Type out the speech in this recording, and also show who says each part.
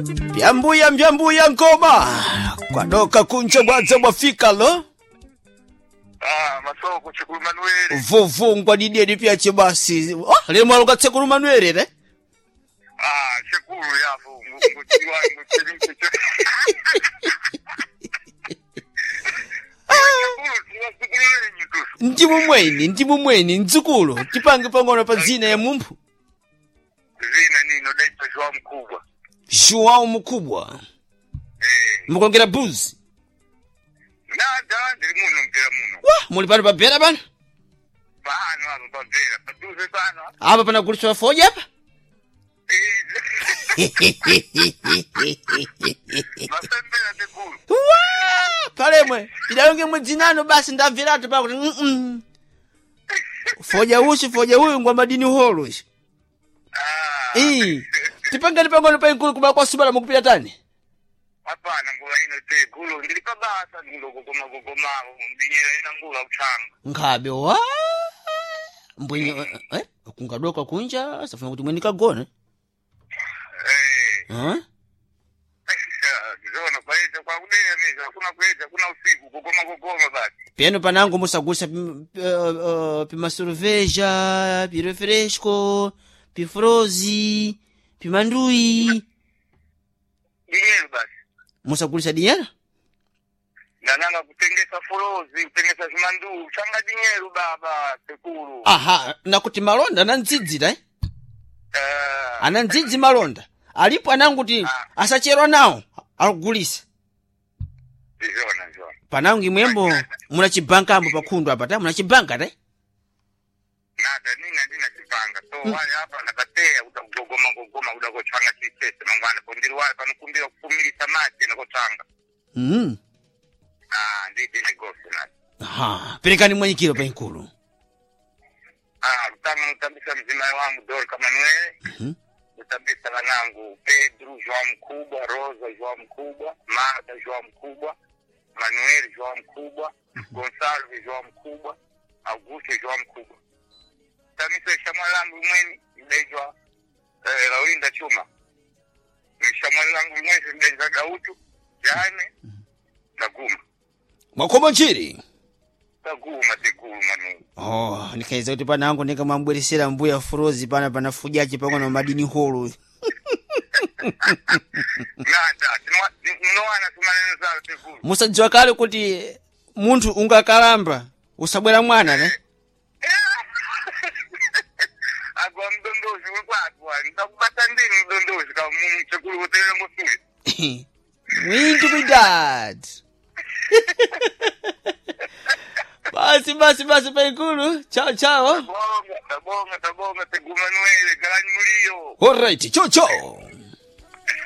Speaker 1: Pyambuya mbyambuya nkoma kwadoka kunja bwadza bwafika lo
Speaker 2: Ah, masoko chikulu Manuele.
Speaker 1: vuvungwa didedi pyache basi oh, lemo alukatsekulu manuele re
Speaker 2: Ah, chikulu yapo ngutiwa ngutiwa. Chikulu tiwa sikulu lenyu tusu.
Speaker 1: ndimumweni ndimumweni mdzukulu tipange pang'ono pa dzina ya mumphu
Speaker 2: Zina nino daitwa Joao mkubwa.
Speaker 1: Joao mukubwa
Speaker 2: Eh,
Speaker 1: mukongera buzi
Speaker 2: nada ndiri muno mpera muno.
Speaker 1: wa muli pano pabera pano
Speaker 2: Pano apo pabera, paduze pano.
Speaker 1: apa panaguliswa foja apa
Speaker 2: Eh, masembera chikulu.
Speaker 1: Wa! palemwe tidalonge mwedzinano basi ndabveratu pakuti mm foja usi foja uyu ngwa madini holo ici
Speaker 2: Ah.
Speaker 1: ii tipangani pang'ono paikulu kuba kwasubala mukupita tani
Speaker 2: Hapana nguva ino te gulu ndiri pabasa ndingogogoma gogoma ndinyera ina nguva kuchanga.
Speaker 1: nkhabe wa mbwenye eh, kungadoka kunja safuna kuti mweni kagone
Speaker 2: Eh.
Speaker 1: eh?
Speaker 2: Zona kwaita kwakudera mizha hakuna kuedza kuna usiku kugoma kugoma basi.
Speaker 1: peno panango musagusa pimasurveja pirefresco pifrozi pimanduyi
Speaker 2: Dinheiro basi.
Speaker 1: musagulisa dinyera
Speaker 2: Ndananga kutengesa forozi kutengesa zvimandu changa dinheiro baba sekuru.
Speaker 1: aha nakuti malonda anandzidzira eh?
Speaker 2: Eh,
Speaker 1: anandzidzi malonda alipo ananguti asacherwa nawo akugulisa
Speaker 2: Zona zona.
Speaker 1: panango imwembo muna chibanka ambo pakhundu apa ta muna chibanka ta
Speaker 2: Nada nina ndina chipanga so wale apa ndakateya kuda kugogoma gogoma kuda kochanga chitete mangwana pondiri wale panokumbira kufumirisa mate nekochanga.
Speaker 1: mm.
Speaker 2: Ah ndide negosi nani.
Speaker 1: aha perekani mwanyikiro paikulu
Speaker 2: Ah kutanga notambisa mdzimai wangu Dorca Manuele. Kutambisa vanangu Pedro João Mkubwa, Rosa João Mkubwa, Marta João Mkubwa, Manuel João Mkubwa, Gonçalves João Mkubwa, Augusto João Mkubwa. Tamisa ishamwa langu mweni mdejwa Laurinda Chuma. Ishamwa langu mweni mdejwa Gautu, Jaime Taguma.
Speaker 1: mwakoma nchiri
Speaker 2: Taguma teguma Manuel.
Speaker 1: oh nikaiza kuti panango nikamwambweresera mbuya furozi pana panafujachi pang'ono na madini holo
Speaker 2: Nada, tinowana tumaneno zalo teguma.
Speaker 1: musadziwa kale kuti munthu ungakalamba usabwera mwana ne
Speaker 2: Agwa mdondozi wekwagwa ndakubata ndini mdondozi ka mchekulu kutelera ngosuyo
Speaker 1: mwinji kuidad basi basi basi paikulu chao chao
Speaker 2: tabonga tabonga tabonga tegumanuele galanyi muliyo
Speaker 1: alright chao chao.